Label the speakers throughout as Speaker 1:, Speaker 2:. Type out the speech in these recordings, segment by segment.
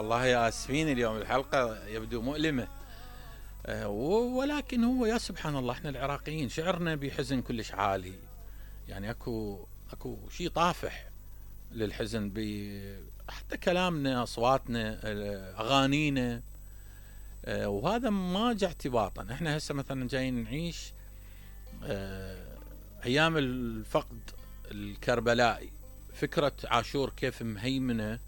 Speaker 1: والله آسفين اليوم الحلقة يبدو مؤلمة. ولكن هو يا سبحان الله احنا العراقيين شعرنا بحزن كلش عالي، يعني اكو شيء طافح للحزن، حتى كلامنا، اصواتنا، اغانينا، وهذا ما جاء اعتباطا. احنا هسه مثلا جايين نعيش ايام الفقد الكربلائي، فكرة عاشور كيف مهيمنة،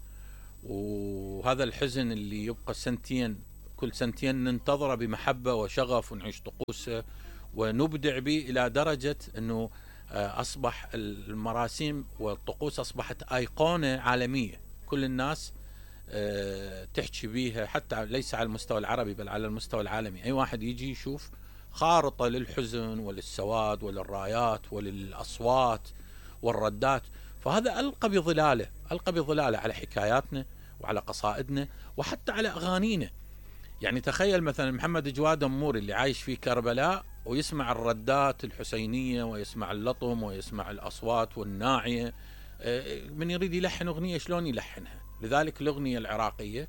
Speaker 1: وهذا الحزن اللي يبقى سنتين، كل سنتين ننتظره بمحبة وشغف ونعيش طقوسه ونبدع به إلى درجة أنه أصبح المراسيم والطقوس أصبحت أيقونة عالمية، كل الناس تحكي بيها، حتى ليس على المستوى العربي بل على المستوى العالمي. أي واحد يجي يشوف خارطة للحزن وللسواد وللرايات وللأصوات والردات، فهذا ألقى بظلاله على حكاياتنا وعلى قصائدنا وحتى على أغانينا. يعني تخيل مثلا محمد جواد أموري اللي عايش في كربلاء ويسمع الردات الحسينية ويسمع اللطم ويسمع الأصوات والناعية، من يريد يلحن أغنية شلون يلحنها؟ لذلك الأغنية العراقية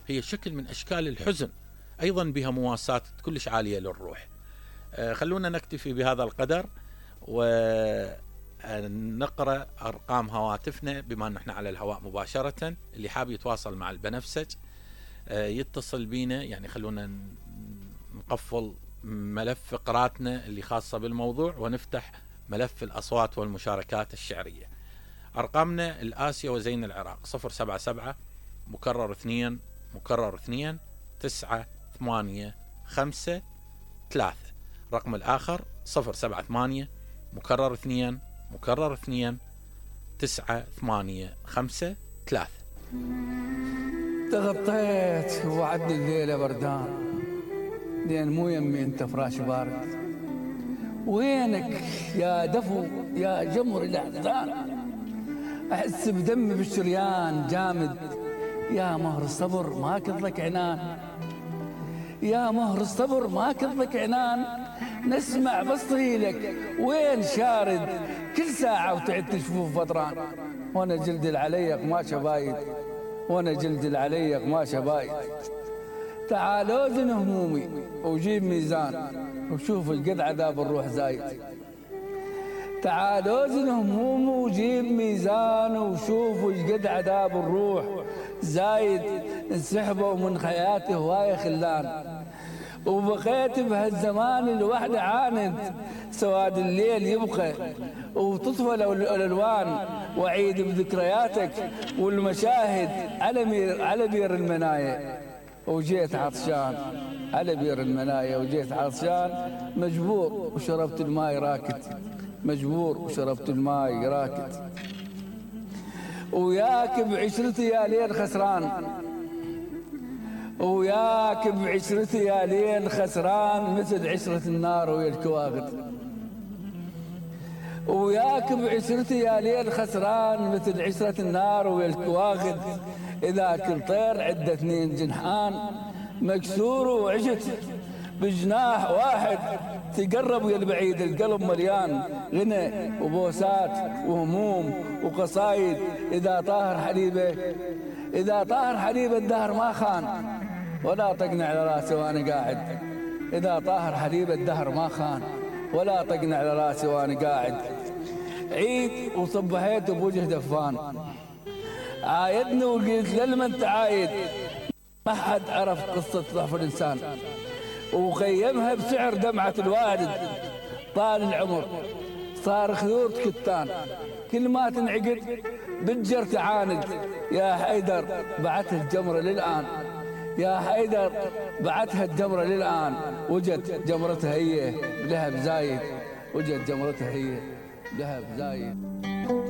Speaker 1: هي شكل من أشكال الحزن، أيضا بها مواساة كلش عالية للروح. خلونا نكتفي بهذا القدر ونقرأ أرقام هواتفنا بما أن احنا على الهواء مباشرة. اللي حاب يتواصل مع البنفسج يتصل بينا، يعني خلونا نقفل ملف فقراتنا اللي خاصة بالموضوع ونفتح ملف الأصوات والمشاركات الشعرية. أرقامنا الآسيا وزين العراق 077 مكرر 2 مكرر 2 9 8 5 3. رقم الآخر 078 مكرر 2 مكرر 2 9 8 5 3.
Speaker 2: تغطيت ووعدني الليلة بردان، لين مو يمي انت فراش بارد. وينك يا دفو يا جمر الأحزان، أحس بدمي بالشريان جامد. يا مهر الصبر ما كضلك عنان، يا مهر الصبر ما كضلك عنان. نسمع بصيلك وين شارد، كل ساعة وتعد تشوف فطران. وانا جلدي العلي قماشه بايد، وانا جلدي العلي قماشه بايد. تعال اوزن همومي وجيب ميزان، وشوف القد عذاب الروح زايد. تعال اوزن همومي وجيب ميزان، وشوف القد عذاب الروح زايد. انسحبوا من حياتي هوايه خلان، وبقيت بهالزمان الوحدة عاند. سواد الليل يبقى وتطفى الألوان، وعيد بذكرياتك والمشاهد على بير المنايا. وجيت عطشان على بير المنايا، وجيت عطشان مجبور وشربت الماي راكد، مجبور وشربت الماي راكد. وياك بعشرتي يا ليل خسران، وياك بعشرتي يا ليل خسران، مثل عشرة النار ويا الكواغد. وياك بعشرتي يا ليل خسران، مثل عشرة النار ويا الكواغد. إذا كل طير عنده 2 جنحان، مكسور وعشت بجناح واحد. تقرب يا البعيد القلب مليان غنى وبوسات وهموم وقصايد. إذا طاهر حليبه، إذا طاهر حليبه الدهر ما خان، ولا طقني على راسي وانا قاعد. إذا طاهر حليب الدهر ما خان، ولا طقني على راسي وانا قاعد. عيد وصبحيت بوجه دفان، عايدني وقلت للمن انت عايد. ما حد عرف قصة ضعف الإنسان، وقيمها بسعر دمعة الوالد. طال العمر صار خيوط كتان، كل ما تنعقد بتجر تعاند. يا حيدر بعتها الجمرة للآن، يا حيدر بعتها الجمرة للآن. وجد جمرتها هي بلهب زايد، وجد جمرتها هي بلهب زايد.